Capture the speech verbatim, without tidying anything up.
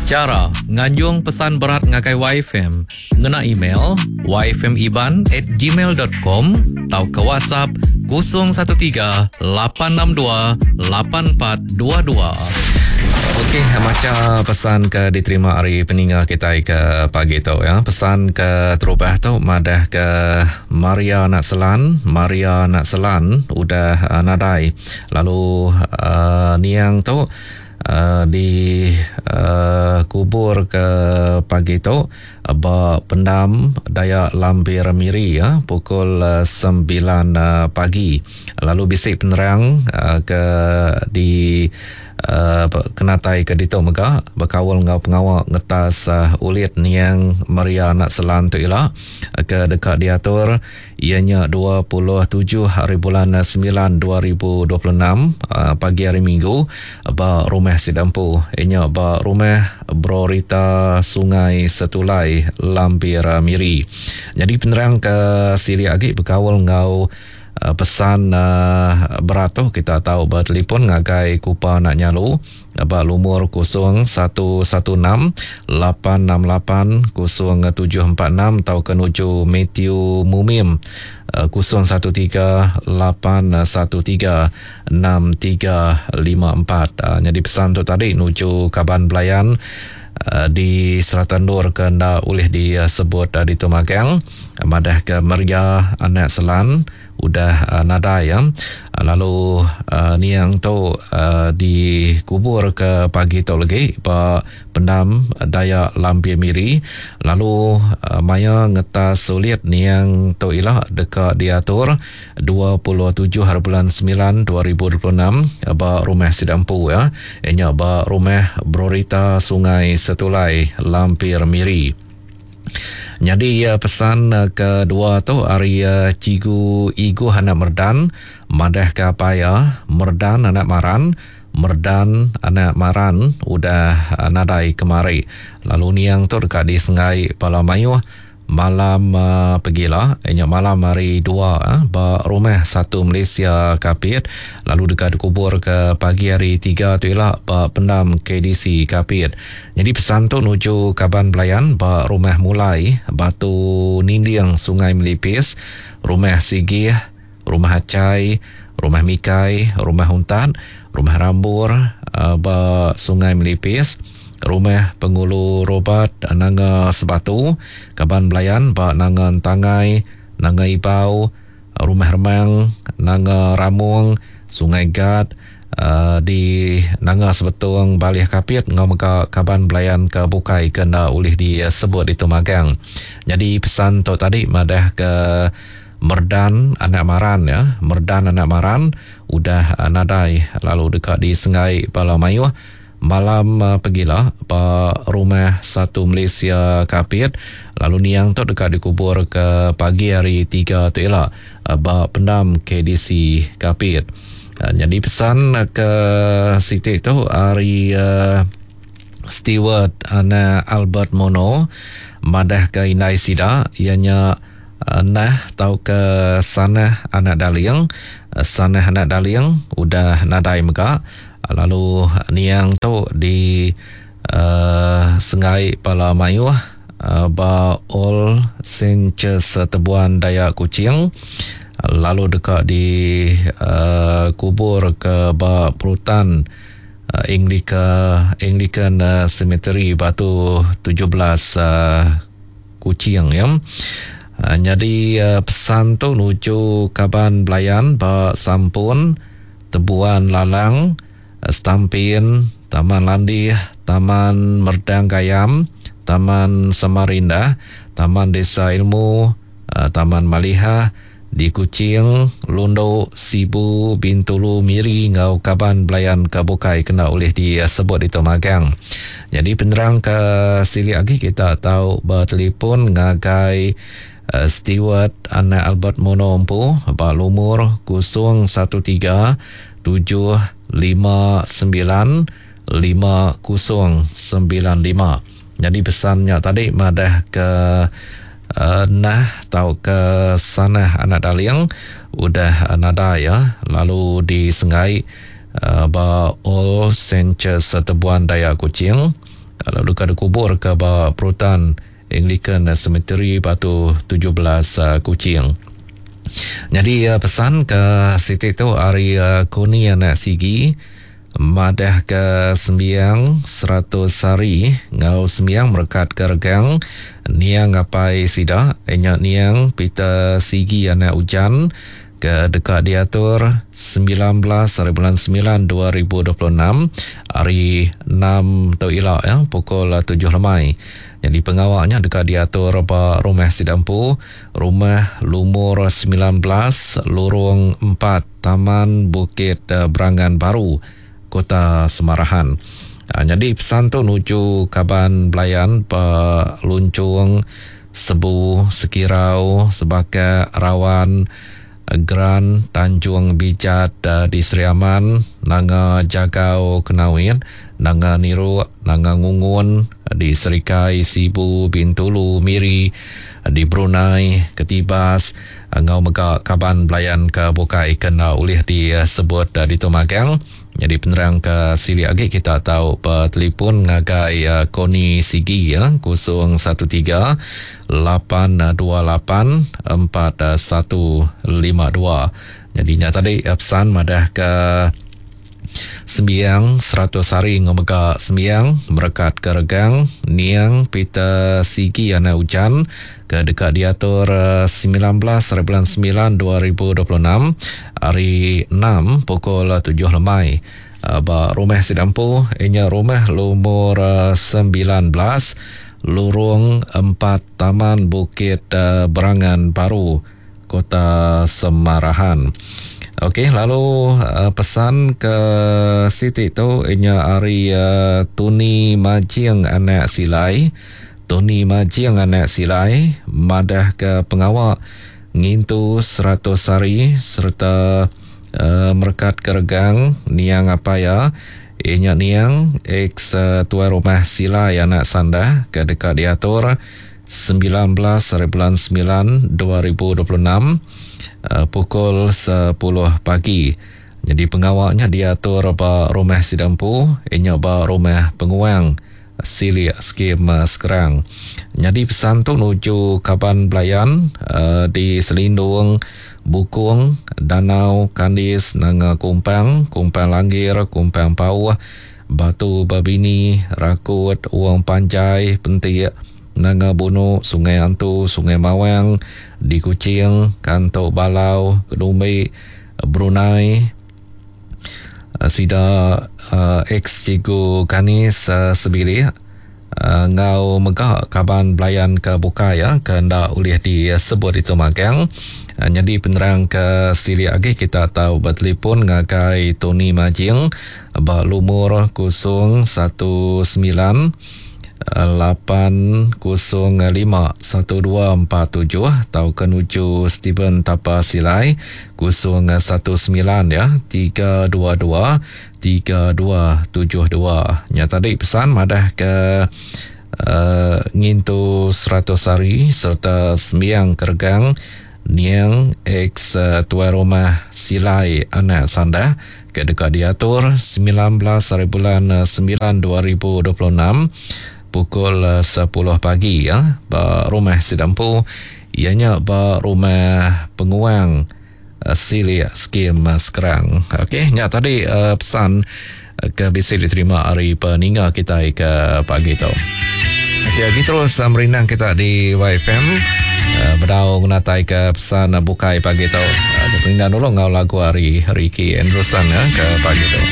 Chara nganjung pesan berat ngagai Y F M ngena email y f m iban at gmail dot com tauka WhatsApp kosong satu tiga lapan enam dua lapan empat dua dua. Okey, maca pesan ke diterima hari peninga kita ke pagi tu ya. Pesan ke terubah tu madah ke Maria Nak Selan, Maria Nak Selan udah uh, nadai. Lalu uh, niang tu Uh, di uh, kubur ke pagi tu uh, ba pendam Dayak Lambir Miri ya, pukul uh, sembilan uh, pagi. Lalu bisik penerang uh, ke di uh, kenatai ke ditu mega berkaul ngau pengawak ngetas uh, ulit niang Maria Nak Selan tu ila uh, ke dekat diatur ianya dua puluh tujuh hari bulan sembilan dua ribu dua puluh enam uh, pagi hari Minggu ba rumah Sidampu ianya ba rumah Brorita Sungai Setulai Lambir Miri. Jadi penerang ke siri agi berkaul ngau Uh, pesan uh, berat tu kita tahu bertelefon ngagai Kupa Nak Nyalu ba lumur kosong satu satu enam lapan enam lapan kosong tujuh empat enam atau ke nuju Matthew Mumim uh, kosong satu tiga lapan satu tiga enam tiga lima empat. Uh, jadi pesan tu tadi nuju kaban belayan uh, di Selatan Nur ke nda boleh disebut uh, di Tumagang madah ke Maria Anak Selan udah uh, nadai ya. Lalu uh, niang tu uh, dikubur ke pagi tu lagi ba pendam Dayak Lambir Miri. Lalu uh, maya ngetas sulit niang tu ila dekat diatur dua puluh tujuh hari bulan sembilan dua ribu dua puluh enam ba rumah Sidampu ya. Enya ba rumah Brorita Sungai Setulai Lampir Miri. Jadi pesan kedua tu hari Cigu Igu anak Merdan madah ke apa ya Merdan anak Maran Merdan anak Maran udah nadai kemari. Lalu niang tu dekat di Sengai Pala Mayuh malam uh, pergilah ianya malam hari dua eh, ba rumah satu Malaysia Kapit. Lalu dekat dikubur ke pagi hari tiga tu ialah ba pendam K D C Kapit. Jadi pesan tu nuju kaban belayan ba rumah Mulai Batu Ninding Sungai Melipis, rumah Sigih, rumah Acai, rumah Mikai, rumah Untan, rumah Rambur uh, ba Sungai Melipis, rumah Pengulu Robert Nanga Sebatu, kaban belayan ba Nanga Tangai, Nanga Ibau, rumah Remang, Nanga Ramung, Sungai Gad, uh, di Nanga Sebetung Balih Kapit ngau mega kaban belayan ke bukai kena ulih disebut di Tumagang. Jadi pesan tu tadi madah ke Merdan anak Maran ya, Merdan anak Maran udah nadai lalu dekat di Sengai Pala Mayuh malam uh, pergilah ba rumah satu Malaysia Kapit. Lalu niang tu dekat dikubur ke pagi hari tiga tu ialah uh, ba pendam K D C Kapit. Uh, jadi pesan ke Siti tu hari uh, Stewart anak Albert Mono madah ke Indai Sida ianya uh, nah tau ke Sanah anak Daling, uh, Sanah anak Daling udah nadai mega. Lalu niang tu di uh, Sengai Pala Mayuh uh, ba All Saints Tebuan Dayak Kuching. Lalu dekat di uh, kubur ke ba Perutan uh, Anglican, Anglican uh, Cemetery Batu tujuh belas uh, Kuching ya. Uh, jadi uh, pesan tu nuju kaban belayan ba Sampun, Tebuan Lalang, Stampin, Taman Landih, Taman Merdang Gayam, Taman Samarinda, Taman Desa Ilmu, Taman Malihah di Kuching, Lundo, Sibu, Bintulu, Miri ngau kaban belayan ke bukai kena oleh disebut di Tumagang. Jadi penerang ke sili lagi kita tahu bertelefon ngagai uh, Stewart anak Albert Mono empu ba lumur kosong satu tiga tujuh lima sembilan lima kosong sembilan lima. Jadi pesannya tadi madah ke uh, nah tau ke Sanah anak Daling udah uh, nada ya. Lalu di Sengai uh, ba All Saints Tebuan Dayak Kuching. Lalu deka dikubur ke ba Perutan Anglican Cemetery Batu tujuh belas Kuching. Jadi pesan ke siti tu ari Koni anak Sigi madah ke sembiang seratus hari ngau sembiang merekat ke regang niang apai sida nya niang Peter Sigi anak Ujan ke deka diatur sembilan belas hari bulan sembilan dua ribu dua puluh enam hari enam tu ila ya pukul tujuh lemai. Jadi pengawaknya deka diatur ba rumah sida empu, rumah lumur sembilan belas Lorong empat Taman Bukit Berangan Baru, Kota Semarahan. Ha, jadi pesan tu nuju kaban belayan ba Luncung, Sebu, Sekirau, Sebaka, Rawan, Geran, Tanjung Bijat di Sri Aman, Nanga Jagau Kenawit, Nanga Niruk, Nanga Ngungun di Serikai, Sibu, Bintulu, Miri, di Brunei, Ketibas, ngau mega kaban belayan ke bukai kena ulih disebut di Tumagang. Jadi penerang ke silik lagi kita tahu per telefon ngagai Koni Sigi ya kosong satu tiga lapan dua lapan empat satu lima dua. Jadi nya tadi pesan madah ke sembiang seratus hari ngomega sembiang merekat ke regang niang Peter Sigi anak Ujan ke dekat diatur sembilan belas hari bulan sembilan dua ribu dua puluh enam hari enam pukul tujuh lemai ba rumah Sidampu inya rumah lumur sembilan belas Lorong empat Taman Bukit Berangan Baru, Kota Semarahan. Okey, lalu uh, pesan ke Siti tu inya ari uh, Tuni Majing anak Silai. Tuni Majing anak Silai madah ke pengawak ngintu seratus hari serta uh, merekat ke regang niang apa ya inya niang ex uh, tuai rumah Silai anak Sandah ke dekat diatur sembilan belas hari bulan sembilan dua ribu dua puluh enam uh, pukul sepuluh pagi. Jadi pengawaknya diatur ba rumah Sidampu, inya ba rumah Penguang Silik Skim uh, Sekerang. Jadi pesan tu nuju kaban belayan uh, di Selindung, Bukung, Danau, Kandis, Nanga Kumpang, Kumpang Langgir, Kumpang Pauh, Batu Babini, Rakut, Uang Panjai, Pentik, Nanga Bunu, Sungai Antu, Sungai Mawang, di Kuching, Kantok Balau, Kedumbi, Brunei, Sida uh, ex Cikgu Kanis uh, Sebilik, uh, ngau megah kaban belayan ke bukai ya, ke ndak ulih disebut itu magang. Uh, jadi penerang ke silik lagi kita tahu bertelefon ngagai Tony Majing ba lumur kosong satu sembilan lapan kosong lima satu dua empat tujuh atau ke nuju Steven Tapa Silai kosong satu sembilan ya tiga dua dua tiga dua tujuh dua. Nya tadi pesan madah ke uh, ngintu seratus hari serta sembiang kergang niang ex uh, tuai rumah Silai anak Sandah ke dekat diatur sembilan belas hari bulan sembilan dua ribu dua puluh enam pukul sepuluh pagi ya ba rumah Sidampu ianya ba rumah Penguang Silik Skim Sekerang. Okey, nya tadi uh, pesan ke bisi diterima hari peninga kita ke pagi tu. Okey, lagi terus uh, merindang kita di Y F M uh, bedau menatai ke pesan uh, bukai pagi tu. Uh, merindang dulu ngau lagu hari Ricky Anderson ya ke pagi tu.